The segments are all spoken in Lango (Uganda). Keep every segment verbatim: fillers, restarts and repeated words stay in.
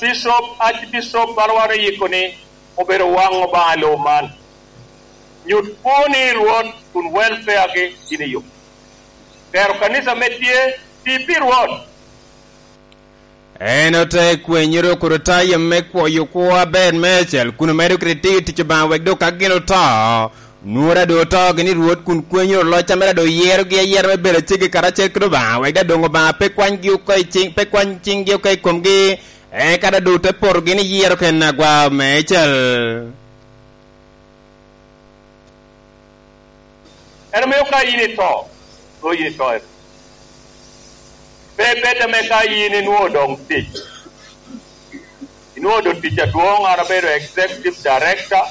Bishop, Archbishop, bala wan oyiko ni obedo waŋ Obaŋa i lobo man. Nyut kwo ni Rwot kun welfare-gi gin i yo. Tero kanica me tye, ti pi Rwot. En ote kwenyere okoto tayo me kwoyo kwo aber meicel, kun omedo kede tiyo tic Obaŋa wek dok ka gin oto, nwora doŋ oto gini Rwot kun kwenyere oloc a mere doŋ oyerogi ayera me bedo aceggi karacel kede Obaŋa, wek daŋ doŋ Obaŋa pe kwanygi oko i ciŋ, pe kwany ciŋgi oko i komgi, eka daŋ doŋ te poto gini yero ken agwa meicel. En omio ka in ito, nwoŋo in ito en. Pe bed ame ka in inwoŋo doŋ tic. Inwoŋo doŋ tic adwoŋ, an abedo executive director.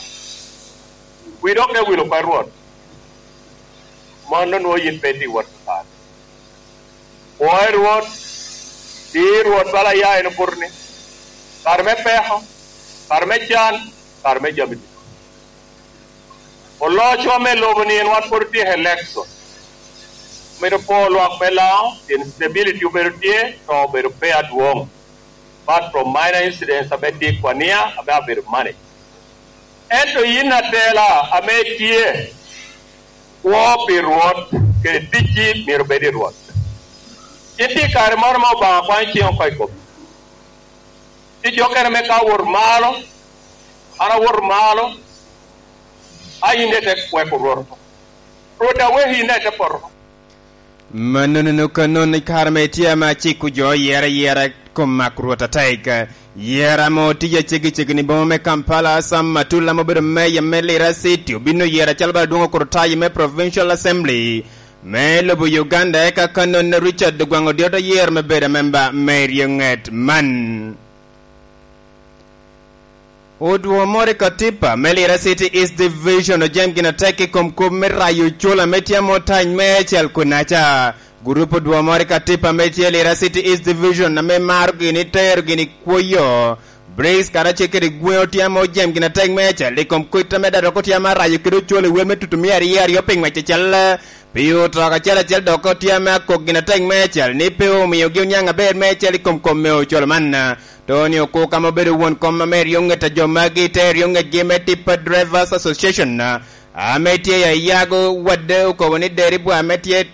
Wi dok te wilo oko i Rwot. Mano nwoŋo yin pe itye i wot kare. Pwoyo Rwot, ti Rwot bala ya en obuto ni, kare me peko, kare me can, kare me jami ducu. Oloco ame lobo ni en wan pwod otye i election. Omedo po lwak me Laŋo, pien stability obedo tye, to obedo pe adwoŋ. But from minor incidents ame tye i kwania, ame abedo manage. Ento yin atela ame tye, kwo pi Rwot, kede ticci myero obed i Rwot. Itye i kare moro ma Obaŋa kwanyo ciŋ oko i komi. Tic okene me ka awot malo, an awot malo, a yin daŋ ite kweko Rwot oko. Rwot daŋ weko yin daŋ ite poto oko. Mannono kannono i kare ame itye ame aciko jo yera yera kom mak Rwot atek. Yera ame otije cegicegi ni boma me Kampala, Sam Matula ame obedo meya me Lira City obino yera calo bala dwong okoro tayo me Provincial Assembly me lobo Uganda, eka kannono Richard Ogwaŋ Odyo te yero me bedo amemba me ryeŋet man. Odwo moro i Katipa me Lira City East Division ojam gin atek i kom kop me rayo ocol ame tye ame otany me acel kunaca. Gurup odwo moro i Katipa ame tye Lira City East Division ame maro gini tero gini kwoyo. Briggs karacel kede gweŋo tye ame ojam gin atek me acel i kom kit ame dadok otye ame arayo kede ocol i wel me tutu mia aryo aryo pi ŋwec acel. Pi oto acel acel dok otye ame akok gin atek me acel ni pe omiogi oniaŋ aber me acel i kom kom me ocol man. Tony Okuk ame obedo won kom ame ryo ŋet a jo magi te ryo ŋetgi me Tipa Drivers Association, ame tye i Ayago wadde okobo ni deri bwa ame tye,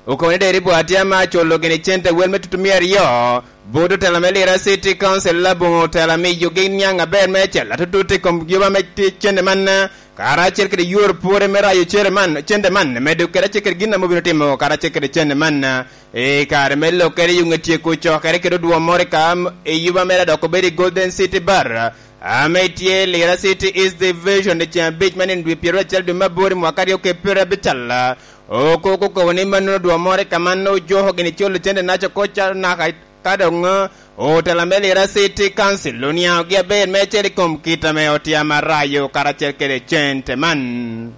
okobo ni deri bwa tye ame aculo gini cente wel me tutu mia aryo, bot otela me Lira City Council aboŋo otela miyogi niaŋ aber me acel atutut i kom yoba me ti-, cente man, karacel kede yor pwore me rayo cere man, cente man, medo kede acel kede gin ame obino timo karacel kede cente man. I kare me lokkere i ŋe tyeko cokere kede odwo moro i kam i yuba mere dok obedo i Golden City Bar, ame tye i Lira City East Division i ceŋ abic me nino dwe pyeraryo acel dwe me aboro i mwaka aryo kede pyeraryo abical. Okoko okobo ni mannono odwo moro i kam an ojoko gini colo cente naca oko ca naka ka doŋ otela me Lira City Council oniaŋogi aber meicel i kom kit ame otye amarayo karacel kede cente man.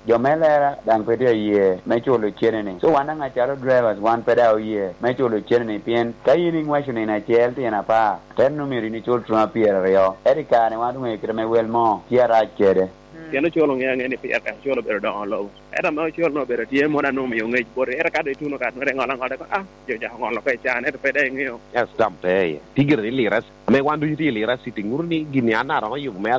Jo me lera daŋ pe tye aye me culo cene-ni. So wan daŋ acalo drivers wan pe daŋ oye me culo cene-ni pien ka in iŋweco nino acel tyen apar, te nwoŋo myero in icul tuma pyeraryo. Ento i kare-ni wan oŋeyo kite ame wel mo tye arac kede. Pien ocol oŋeo aŋea ni pire tek ocol obedo doŋo lobo. Ento ame ocol-nu obedo tye mono a nwoŋo omio ŋec boti. Ento ka doŋ ituno ka nwere iŋolo aŋola, ikono, "Ah, jo ocako ŋolo oko i can, ento pe daŋ iŋeo." Yes, tam pe iye. Tye gire ni Lira, ame wan ducu tye i Lira City, ŋuto ni gin-ni an aromo yubo mere.